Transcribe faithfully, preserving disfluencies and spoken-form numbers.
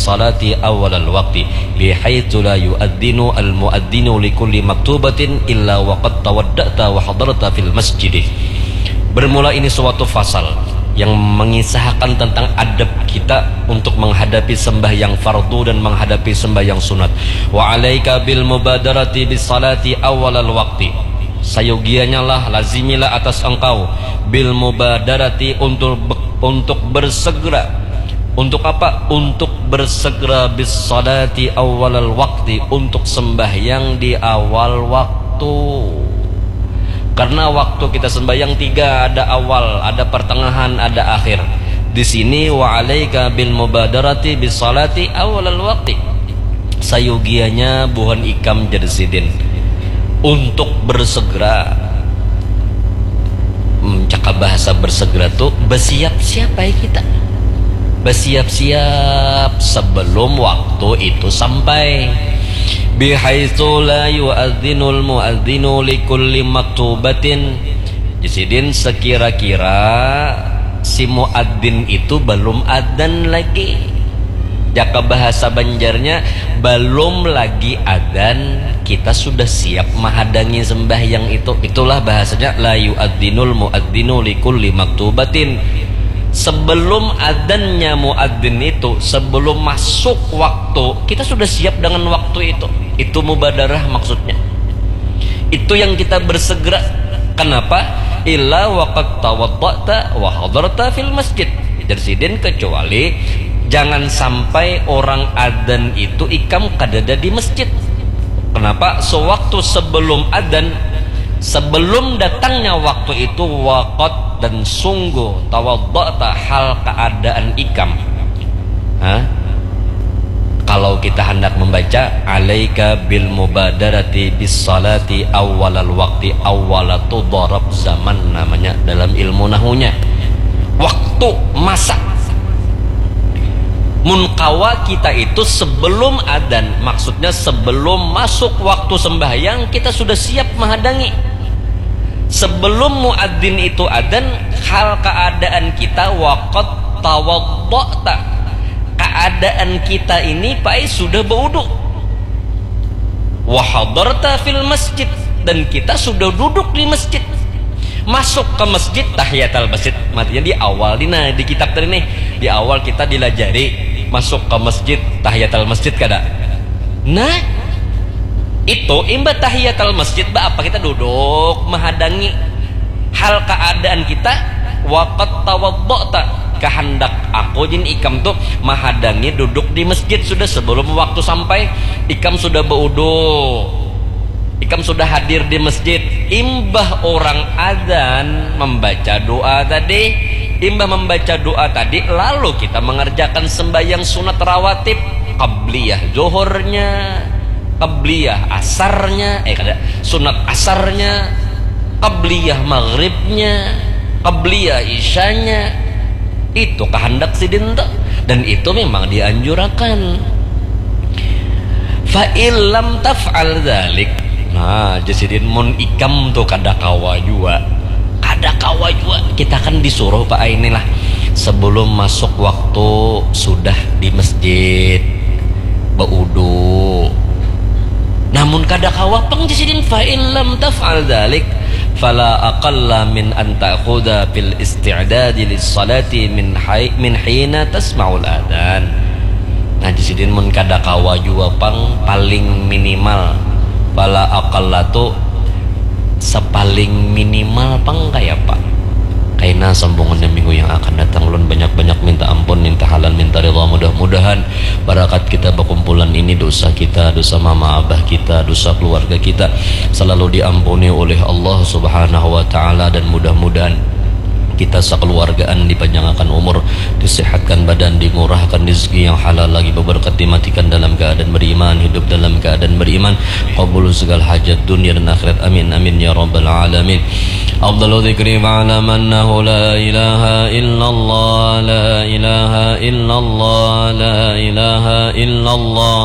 salati awalal waqti, bihaitsu la yu'adzinu al-mu'adzinu likulli maktubatin illa waqad tawadda'ta wa hadarta fil masjidi. Bermula ini suatu fasal yang mengisahkan tentang adab kita untuk menghadapi sembahyang fardu dan menghadapi sembahyang sunat. Wa alaika bil mubadarati bis salati awalal waqti. Sayugianyalah, lazimilah atas engkau bil mubadarati, untuk untuk bersegera. Untuk apa? Untuk bersegera bis salati awalal wakti, untuk sembahyang di awal waktu. Karena waktu kita sembahyang tiga, ada awal, ada pertengahan, ada akhir. Di sini, wa alaika bil mubadarati bis salati awalal wakti. Sayugianya buhan ikam, jadi sidin, untuk bersegera. Hmm, cakap bahasa bersegera tu bersiap-siap baik kita. Bersiap-siap sebelum waktu itu sampai. Bihaitsu la yu'adzinul mu'adzinu likulli maktubatin. Jadi sidin, sekira-kira si muadzin itu belum adzan lagi. Jaka bahasa Banjarnya, belum lagi adzan, kita sudah siap mahadangi sembahyang itu. Itulah bahasanya, la yu'adzinul mu'adzinu likulli maktubatin. Sebelum adzannya muadzin itu, sebelum masuk waktu, kita sudah siap dengan waktu itu. Itu mubadarah maksudnya. Itu yang kita bersegera. Kenapa? Illa waqad tawadda'ta wa hadarta fil masjid. Jadi sidin, kecuali jangan sampai orang adzan itu ikam kadada di masjid. Kenapa? Sewaktu sebelum adzan, sebelum datangnya waktu itu, waqad, dan sungguh, tawadda'ta, hal keadaan ikam. Hah? Kalau kita hendak membaca, alaika bil mubadarati bis salati awalal wakti, awala tu darab zaman namanya dalam ilmu nahunya. Waktu, masa. Mun kawa kita itu sebelum adzan, maksudnya sebelum masuk waktu sembahyang, kita sudah siap menghadangi. Sebelum muadzin itu adzan, hal keadaan kita, waqad tawadda'ta. Keadaan kita ini, pai, sudah baudu. Wa hadarta fil masjid, dan kita sudah duduk di masjid. Masuk ke masjid, tahiyatal masjid. Maksudnya di awal ni, nah, di kitab tadi nih, di awal kita dilajari masuk ke masjid, tahiyatal masjid kada. Nah, itu imbah tahiyatal masjid, ba apa kita duduk mahadangi hal keadaan kita, waqad tawadda'ta, kehendak aku jin ikam tu mahadangi duduk di masjid sudah sebelum waktu sampai, ikam sudah baudu, ikam sudah hadir di masjid. Imbah orang adzan membaca doa tadi, imbah membaca doa tadi, lalu kita mengerjakan sembahyang sunat rawatib, qabliyah zuhurnya, qabliyah asarnya, eh, kada, sunat asarnya, qabliyah maghribnya, qabliyah isyanya. Itu kehendak sidin tu. Dan itu memang dianjurakan. Fa illam taf'al dzalik. Nah, jadi sidin, mun ikam tu kada kawa jua. Kada kawa jua. Kita kan disuruh, Pak, inilah. Sebelum masuk waktu sudah di masjid, baudu. Namun kada kawa pang, jadi sidin, fa illam taf'al dzalik, fala aqalla min an ta'khudha fil isti'dadi lis salati min hay-, min hina tasma'ul adzan. Nah, jadi sidin, mun kada kawa jua pang, paling minimal, fala aqalla tu sepaling minimal pang kaya apa? Kaina sambungannya minggu yang akan datang. Ulun banyak-banyak minta ampun, minta halal, minta ridha. Mudah-mudahan barakat kita bakumpulan ini, dosa kita, dosa mama abah kita, dosa keluarga kita, selalu diampuni oleh Allah Subhanahu wa Ta'ala, dan mudah-mudahan kita sekeluargaan dipanjangakan umur, disehatkan badan, dimurahkan rezeki yang halal lagi, beberkat, dimatikan dalam keadaan beriman, hidup dalam keadaan beriman, kabul segala hajat dunia dan akhirat. Amin, amin, ya rabbal alamin. Afdalu dzikri fa'lam annahu la ilaha illallah, la ilaha illallah, la ilaha illallah.